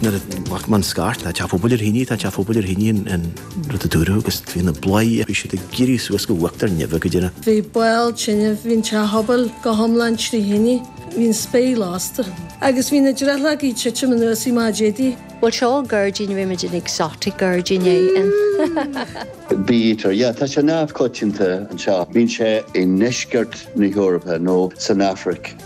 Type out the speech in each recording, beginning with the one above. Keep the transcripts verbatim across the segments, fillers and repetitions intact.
Nuair a bhac man scairt, tá teach pobail ar thine, tá teach pobail ar thine an rud a dúradh agus bhí na bláthaí, bhí siad ag éirí suas go uachtar neimhe go deireadh. Bhí baol tine, bhí an teach pobail go hiomlán trí thine, bhí an spéir lasta. Agus bhí na drithleogaí ag titim anuas i maidéidí. Bhuel seo gairdín bhí muid in exotic gairdín é. Bee-eater, yeah, tá sé neamhchoitianta anseo. Bíonn sé i ndeisceart na hEorpa nó san Afraic.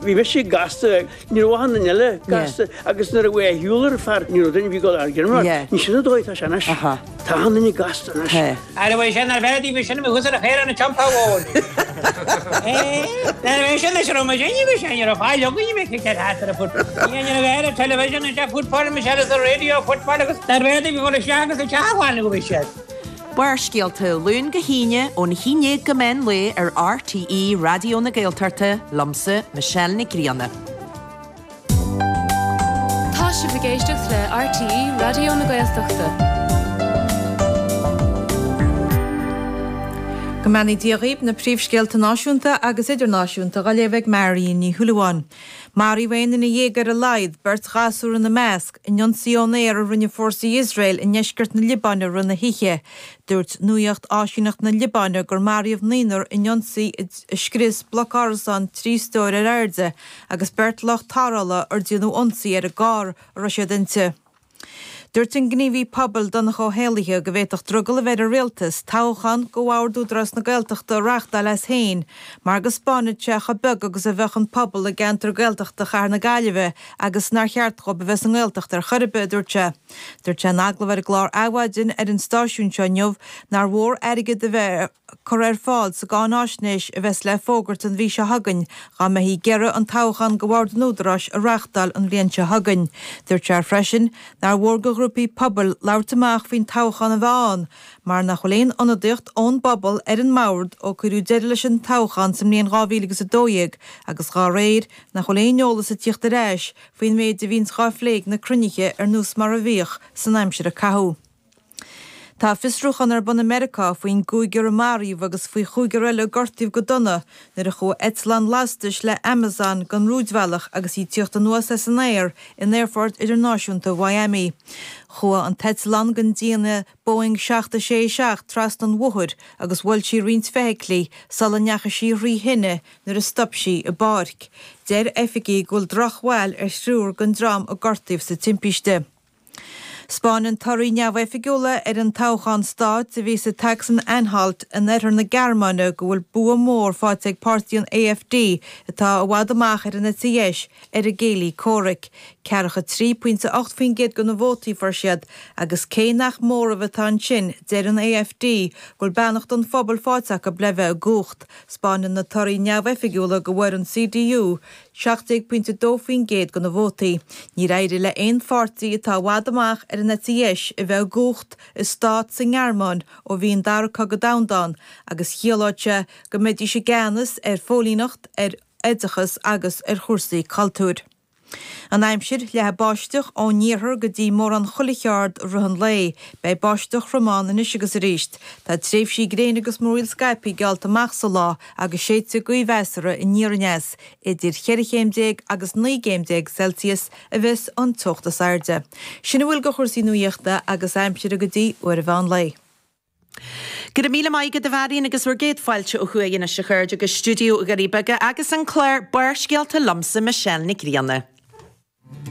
Bhí mise gasta, ní raibh achan duine eile gasta agus nuair a bhí a shiúl ar fear ní raibh duine bhí dul ar ghiormar. Ní sin an dóigh atá sé anois. Tá achan duine gasta anois. Ara bhí sin ar bheith bhí sin thuas ar a chéire na teampall amháin. Nuair a bhí sin is raibh muid inniu bhí sé ní raibh fáil againn bhí sé thart ar a foot. Ní raibh air an television is football Michelle is a radio football agus nuair a bhí bhí isteach agus isteach amháin go bhí siad. Barrscéalta Luan go hAoine ón haon déag go meán lae ar RTÉ Raidió na Gaeltachta liomsa Michelle Nic Grianna. Tá sibh ag éisteacht le RTÉ Raidió na Gaeltachta. Go mbeannaí Dia dhaoibh na príomhscéalta náisiúnta agus idirnáisiúnta á léamh ag Marion Ní Shúilleabháin. Maraíodh aon duine dhéag ar a laghad, beirt ghasúr ina measc, in ionsaí ón aer a rinne fórsaí Iosrael i ndeisceart na Liobáine i rith na hoíche. Dúirt nuacht áisíneacht na Liobáine gur maraíodh naonúr in ionsaí a scrios bloc árasán trí stór ar airde agus beirt lucht tarrthála ar déanadh ionsaí ar an gcarr a raibh siad inti. Dúirt an gníomhaí pobail Donncha Ó hÉallaithe go bhféadfadh drogall a bheith ar an rialtas toghchán go Bhord Údarás na Gaeltachta a reáchtáil as féin mar go spáinfeadh sé chomh beag agus a bheadh an pobal i gceantar Gaeltachta Chathair na Gaillimhe agus nár cheart dóibh a bheith sa nGaeltacht ar chor ar bith, a dúirt sé. Dúirt sé in agallamh ar an gclár Adhmhaidin ar an stáisiún seo inniu nár mhór airgead a bheith curtha ar fáil sa gcáináisnéis a bheas le fógairt an mhí seo chugainn dá mbeifí ag iarraidh an toghchán go Bhord an Údaráis a reáchtáil an bhliain seo chugainn. Dúirt sé freisin nár mhór do ghrúpaí pobail labhairt amach faoin toghchán a bheith ann mar nach bhfuil aon ionadaíocht ón bpobal ar an mbord ó cuireadh deireadh leis an toghchán sa mbliain dhá mhíle agus a dó dhéag agus dá réir nach bhfuil aon eolas ag tíocht ar ais faoin méid a bhíonns á phlé ag na cruinnithe ar nós mar a bhíodh san aimsir a caitheadh. Tá fiosrúchán ar bun i Meiriceá faoin gcúigear a maraíodh agus faoi chúigear eile a gortaíodh go dona nuair a chuaigh eitleán lastais le Amazon den rúidbhealach agus í ag tíocht anuas as an aer in Aerfort Idirnáisiúnta Mhiami. Chuaigh an t-eitleán den déanamh Boeing seacht a sé seacht trasna an bhóthair agus bhuail sí roinnt feithiclí sula ndeachaigh sí thrí thine nuair a stop sí i bpáirc. Deir oifigigh go bhfuil drochbhail ar thriúr den dream a gortaíodh sa timpiste. 'Spáineann torthaí neamhoifigiúla ar an toghchán stáit a bhí sa tSacsain-Anhalt in oirthear na Gearmáine go bhfuil bua mór faighte ag páirtí an AfD atá i bhfad amach ar an eite dheis ar a gcéilí comhraic. Ceathracha trí pointe ocht faoin gcéad de na vótaí a fuair siad agus cé nach móramh atá ansin deir an AfD go bhfuil beannacht an phobail faighte acu le bheith i gcumhacht. 'Spáineann na torthaí neamhoifigiúla go bhfuair an CDU seacht déag pointe dó faoin gcéad de na vótaí. Níor éirigh le haon pháirtí atá i bhfad amach ar an eite dheis a bheith i gcumhacht i stát sa nGearmáin ó bhí an Dara Cogadh Domhanda ann agus chiallódh sé go mbeidís i gceannas ar phóilíneacht, ar oideachas agus ar chúrsaí cultúir. An aimsir, leathfaidh báisteach ón iarthar go dtí mórán chuile cheard i rith an lae. Beidh báisteach throm ann anois agus arís. Tá tréimhsí gréine agus múraíl scaipthe geallta amach sa lá agus séidfidh gaoth mheasartha aniar aneas. Idir cheithre chéim déag agus naoi gcéim déag Celsius a bheas an teocht is airde. Sin a bhfuil de chúrsaí nuachta agus aimsire go dtí uair an mheán lae. Go raibh míle maith agat a Mharion agus bhur gcéad fáilte ó thuaidh anois a chairde go stiúideo Dhoirí Beaga agus an clár Barrscéalta liomsa Michelle Nic Grianna.